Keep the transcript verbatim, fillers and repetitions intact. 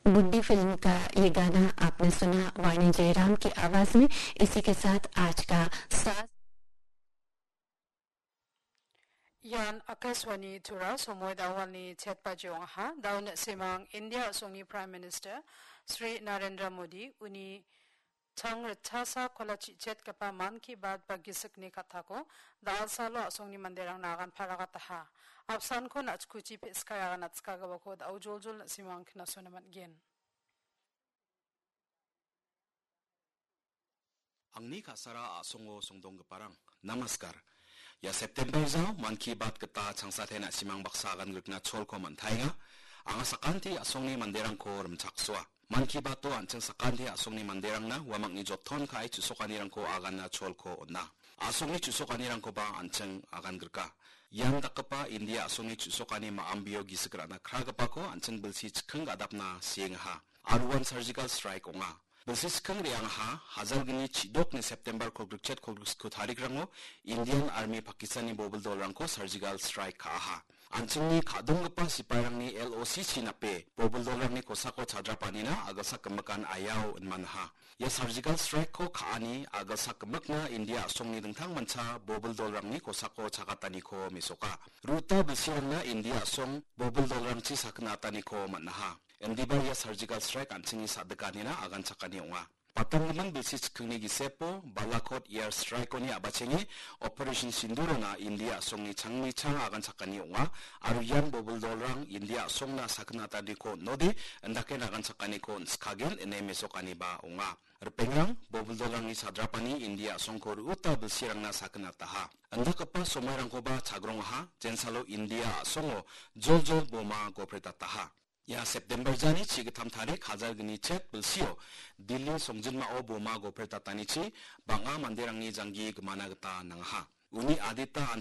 बुड्ढी फिल्म का ये गाना आपने सुना, वाणी जयराम की आवाज में। इसी के साथ आज का साज Ian Akashvani Tura, somoi da·o chet baji ong·aha. Da·o na·simang India a·songni Prime Minister Shri Narendra Modi uni chang ritchasa kola chi·chetgipa Mann Ki Baat ba gisikni kattako da·alsalo a·songni manderangna agan paragataha. Apsanko na·chkuchi pe·skai agan atskagipako da·o joljol na·simang knasona man·gen. Angni ka·sara a·songo songdonggiparang, namaskar. Ia September jao Mann Ki Baat gita changsate na·simang baksa agan grikna cholko man·taenga. Anga sakanti a·songni manderangko rimchaksoa. Mann Ki Bato an·ching sakanti a·songni manderangna uamangni joton ka·e chu·sokanirangko aganna cholko on·a. A·songni chu·sokanirangkoba an·ching agan grika. Ian dakgipa India a·songni chu·sokani ma·ambio gisik ra·na kragipako an·ching bilsi chikking gadapna siengaha. Aro uan surgical strike ong·a. Bilsi chikking re·angaha, hajalgni chidokni September kolgrikchet kolgriksko tarikrango Indian Army Pakistanni bobil dolrangko surgical strike ka·aha. An·chingni ka·donggipa sipairangni L O C C nape bobil dolrangni kosako chadrapanina a·gilsak gimikan aiao inmanaha. Ia surgical strike-ko ka·ani a·gilsak gimikna India a·songni dingtangmancha bobil dolrangni kosako chagataniko mesoka. Ru·ta bilsirangna India a·song bobil dolrangchi sakgna ataniko man·aha. Indiba ia surgical strike an·chingni sa·dikanina aganchakani ong·a. Patanggimin bilsi chikkingni gisepo Balakot air strike-oni a·bachenge Operation Sindurona India a·songni changni chang aganchakani ong·a, aro ian bobil dolrang India a·songna sakgna ataniko on·ode, indake aganchakaniko on·skagen ine mesokaniba ong·a. Ripengrang, bobil dolrangni chadrapani India a·songko ru·uta bilsirangna sakgna ataha. Indakgipa somoirangkoba chagrongaha, jensalo India a·songo joljol boma gopretataha. Ia September jani chigittam tarik hajalgni chet bilsio Delhi songjinmao boma gopretatanichi bang·a manderangni janggi gimana gita nangaha. Uni adita an